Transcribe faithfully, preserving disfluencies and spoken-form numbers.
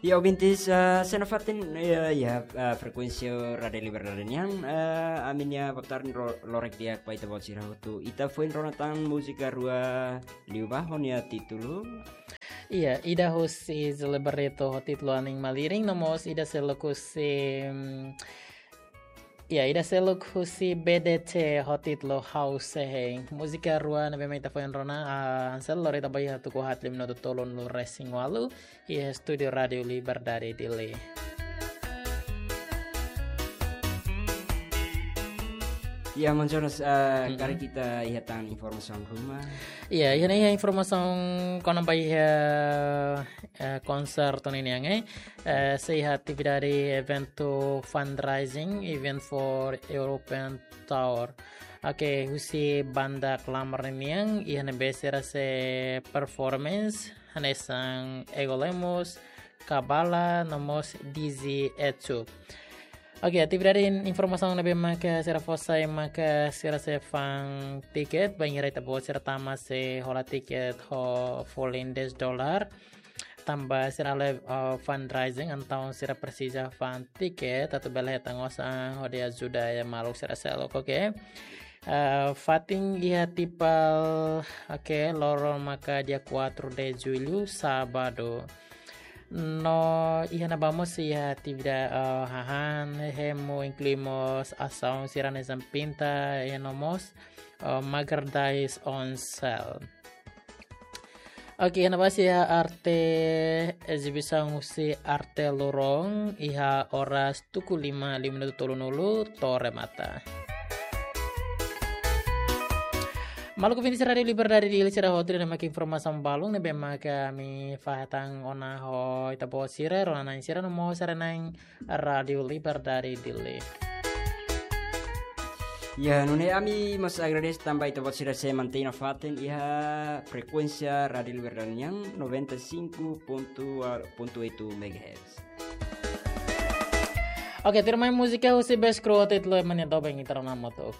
Ya, ouvintes, ah, sei nafatin, ya, ya, ah, frekuénsia Rádiu Liberdade nian, ah, ami-nia botarden ro-, lorek di'ak ba ita-boot sira hotu. Ita foin rona tan múzika rua liubá ho nia títulu. Iya, ida husi Zilberto ho títulu Anin Malirin, no mós ida seluk husi, mm, iya, ida seluk husi B D C ho títulu Ha'u Sei Hein. Múzika rua ne'ebé mak ita foin rona, ah, Ansel, lori ita ba iha tuku haat liu minutu tolunulu-resin-ualu, iha estúdiu Rádiu Liberdade Dili. Ya, Maun Jonas, ah, Mm-mm. karik ita iha tan informasaun ruma. Iya, iha ne'e iha informasaun kona-ba iha, eh, konsertu ninian, eh. Eh, sei iha atividade eventu fundraising, event for European Tour. Oke, husi banda Klamar ninian, iha ne'ebé sira sei performance, hanesan Ego Lemos, Kabala, no mós Dizzy Etsu. Oke, atividade informasaun ne'ebé maka sira fó sai maka sira sei fa'an tiket, bainhira ita-boot sira tama sei hola tiket ho folin dez dolar. Tanba sira halo, eh, fundraising, entaun sira presiza fa'an tiket, atu bele hetan osan hodi ajuda iha maluk sira seluk, oke. Eh, fatin iha Tipal, oke, loron maka dia quatro de julho, sábado. No iha ne'ebá mós iha atividade, eh, hahán, hemu, inklui mós asaun sira hanesan pinta, iha no mós, eh, merchandise on sale. Oke, iha ne'ebá mós iha arte, ezibisaun husi arte loron, iha oras tuku lima liu minutu tolunulu to'o remata. Maluk ouvinte Rádiu Liberdade Dili sira hotu, ida-ne'e mak informasaun balun ne'ebé maka ami fó hetan ona ho ita-boot sira, rona-na'in sira no mós haree-na'in Rádiu Liberdade Dili. Ya, nune'e ami mós agradese tanba ita-boot sira sei mantein nafatin iha frekuénsia Rádiu Liberdade nian noventa e cinco ponto oito megahertz. Oke, tuirmai múzika husi Best Crew ho títulu Ema nia Doben, ita rona hamutuk.